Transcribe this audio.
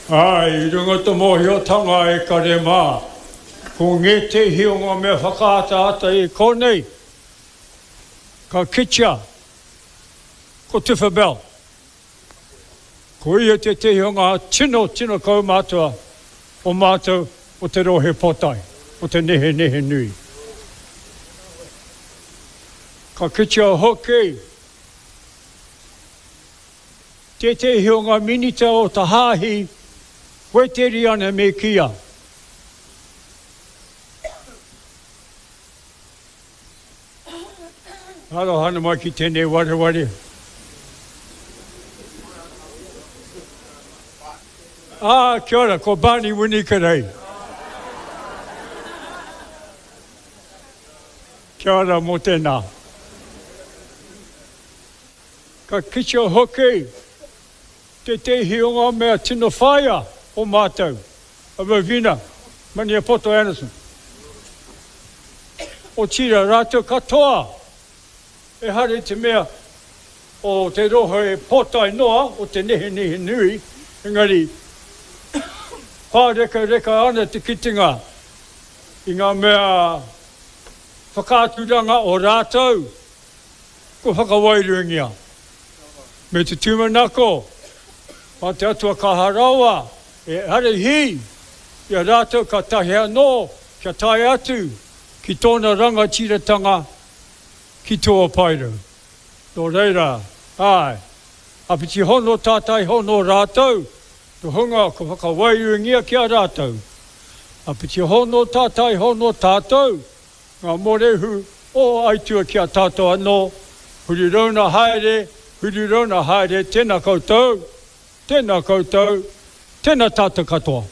Āe, i runga te mōhiotanga e kare mā, ko ngētehi o ngā mea whakaataata i konei, ka kitea ko Tifa Bell. Ko ia tētehi o ngā tino, tino kaumātua o mātou o te rohe pōtae, o te Nehenehenui. Ka kitea hoki tētehi o ngā minita o te hāhi Wēteriana me kīia. Aroha ana mai ki tenei wareware. Ah, kia ora, ko Barney Winikerei. Kia ora mo tena. Ka kitea hoki Tētehi o ngā mea tino whāia o mātou, a Rovina Maniapoto Anderson. Otirā, rātou katoa, ehara i te mea o te rohe pōtae noa o te nehenehe nui, engari pārekareka ana te kitenga i ngā mea whakaaturanga o rātou kua whakawairuangia. Me te tūmanako, mā te Atua kaha rawa e ārahi i a rātou ka tahi anō kia tae atu ki tōna rangatiratanga ki tua paerau. Nō reira, āe, āpiti hono tātai hono rātou, te hunga kua whakawairuangia ki a rātou. Āpiti hono tātai hono tātou, Ngā mōrehu o Aitua ki a tātou anō, huri rauna haere, huri rauna haere, tēnā koutou, tēnā koutou, tēnā tātou katoa.